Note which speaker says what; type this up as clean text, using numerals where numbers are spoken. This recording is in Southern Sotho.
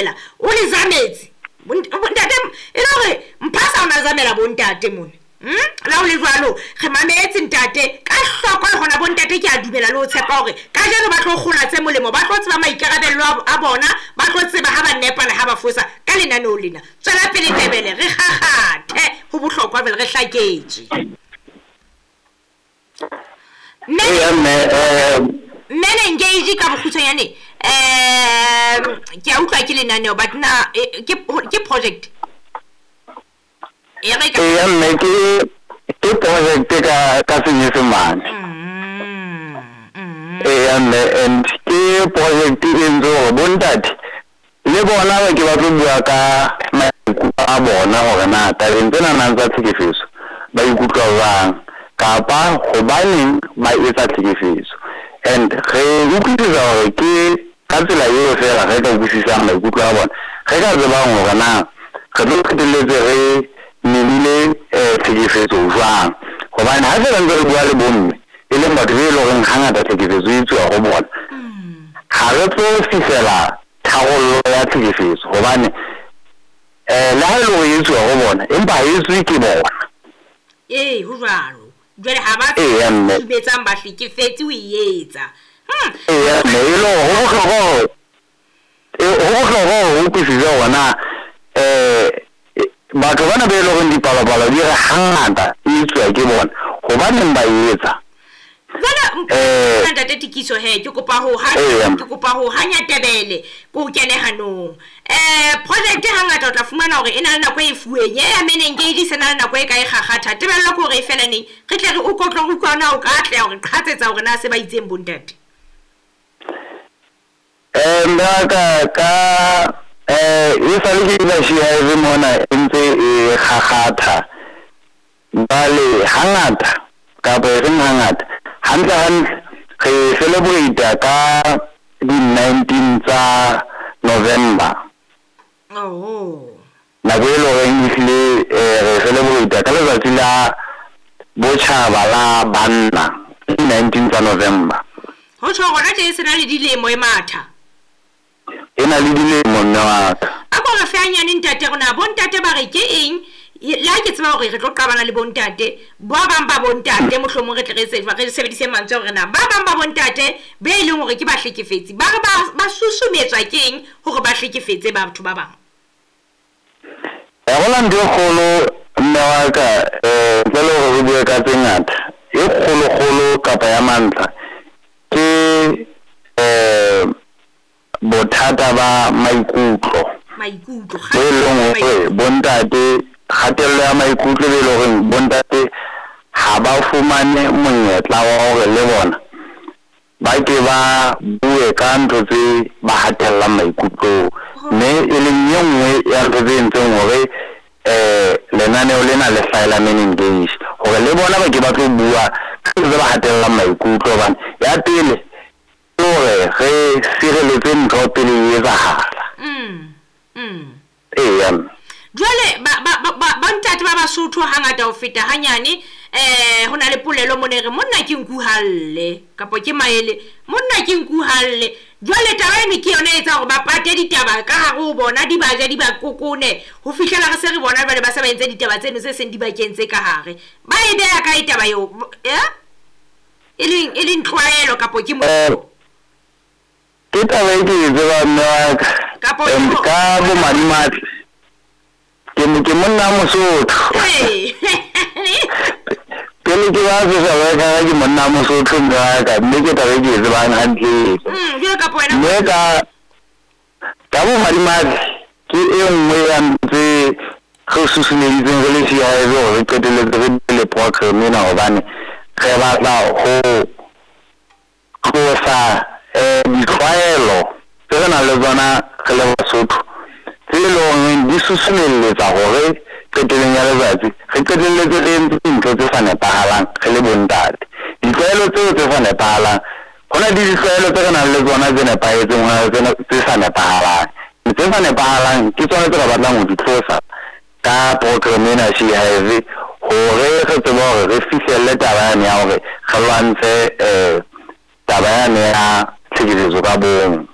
Speaker 1: Zamela o le zametse. Ntate e le hore Mphasa o na zamela bontate mona. La ho le jwalo re mametse ntate ka hloko le hona bontate ke a dumela le ho tshepa hore kajeno ba tlo kgola tse molemo, ba tlo tseba maikarabello a bona, ba tlo tseba ha ba nepa le ha ba fosa ka lenaneo lena. Tswela pele Tebele, re kgakgathe ho bohlokwa jwale re hlaketswe. Men Engage ka bokgutshwanyane, ke a utlwa ke lenaneo but na ke project.
Speaker 2: Eya mme ke project ka Senyesemane. Eya mme, and ke project e entse hore bontate le bona ba ke ba tlo bua ka maikutlo a bona hore na tabeng tsena nang tsa tlhekefetso ba ikutlwa jwang kapa hobaneng ba etsa tlhekefetso. And re utlwisisa hore ke ka tsela eo fela re ka utlwisisang maikutlo a bona, re ka tsebang hore na re tlo qetelletse re memile tlhekefetso jwang. Hobane ha fela ntse re bua le bomme, e leng batho be leng horeng hangata tlhekefetso e etsuwa ho bona, ha re tlo fihlela tharollo ya tlhekefetso hobane le ha e le hore e etsuwa ho bona, empa ha e etswe ke bona.
Speaker 1: Ee, ho jwalo. Jwale ha ba susumetsang bahlekefetsi ho e etsa.
Speaker 2: Eya mme, e le hore ho bohlokwa hore ho bohlokwa hore o utlwisise hore na batho bana be leng hore dipalopalo di re hangata e etsuwa ke bona, hobaneng ba e etsa?
Speaker 1: Jwale ntate Tikiso he, ke kopa ho ke kopa ho hanya Tebele ko kene hanong. Project hangata o tla fumana hore e na le nako e fuweng. Ya Men Engage se na le nako e ka e kgakgatha. Tebello ke hore e fela neng. Re tle re o kotlo re utlwa na o ka atleha hore qhatsetsa hore na se ba itseng bontate.
Speaker 2: Nna ka e sale ke la SheHive mona e ntse e kgakgatha. Jwale hangata kapa e seng hangata, hantle hantle re celebrate ka di 19 tsa November.
Speaker 1: Oh.
Speaker 2: Nako e leng horeng ehlile re celebrate ka letsatsi la botjhaba la banna, di 19 tsa November.
Speaker 1: Ho tjho hona tje se na le dilemo e matha.
Speaker 2: E na le dilemo mme wa ka.
Speaker 1: A ko re fe hanyane ntate rona, bontate ba re ke eng? Le ha ke tseba hore re tlo qabana le bontate, ba bang ba bontate mohlomong re tle re re sebedise mantswe hore na ba bang ba bontate be e leng hore ke bahlekefetsi, ba re ba susumetswa ke eng hore ba hlekefetse batho ba bang?
Speaker 2: Hona ntho e kgolo mme wa ka, ntle le hore re bue ka tse ngata, e kgolo kgolo kapa ya mantlha ke bothata ba maikutlo.
Speaker 1: Maikutlo,
Speaker 2: bo e leng hore bontate, kgatello ya maikutlo be leng hore bontate ha ba fumane monyetla wa hore le bona ba ke ba bue ka ntho tse ba hatellang maikutlong. Mme e leng e nngwe ya ntho tse entseng hore lenaneo lena le hlahela Men Engage, hore le bona ba ke ba tlo bua ka ntho tse ba hatellang maikutlo. Hobane ya pele ke hore re sireletse ntho pele e etsahala. Eya.
Speaker 1: Jwale ba ntate ba Basotho hangata ho feta hanyane, ho na le polelo mona e re monna ke nku halle kapa ke maele, monna ke nku halle. Jwale taba eno ke yona e etsa hore ba pate ditaba ka hare ho bona, di ba ja di ba kokone ho fihlela re se re bona jwale ba se ba entse ditaba tseno tse seng di ba kentse ka hare. Ba e beha kae taba eo? E leng tlwaelo kapa ke motho?
Speaker 2: Ke taba e ke e tsebang mme wa ka.
Speaker 1: Kapo
Speaker 2: Ka bomadimabe ke monna Mosotho. Pele ke ba social worker ke monna Mosotho mme wa ka, mme ke taba e ke e tsebang hantle.
Speaker 1: Jwalo kapa wena
Speaker 2: Mme ka bomadimabe ke e nngwe ya ntho tse re susumeditseng re le SheHive hore re qetelletse re bile le program ena, hobane re batla ho tlosa ditlwaelo tse re nang le tsona re le Basotho, tse leng horeng di susumelletsa hore qetellong ya letsatsi re qetelletse re entse dintho tse sa nepahalang re le bontate. Ditlwaelo tseo tse sa nepahalang, ho na le ditlwaelo tse re nang le tsona tse nepahetseng, ho na le tse sa nepahalang. Tse sa nepahalang ke tsona tse re batlang ho di tlosa ka program ena SheHive, hore re tsebe hore re fihlelle taba yane ya hore re lwantshe taba yane ya tlhekefetso ka bong.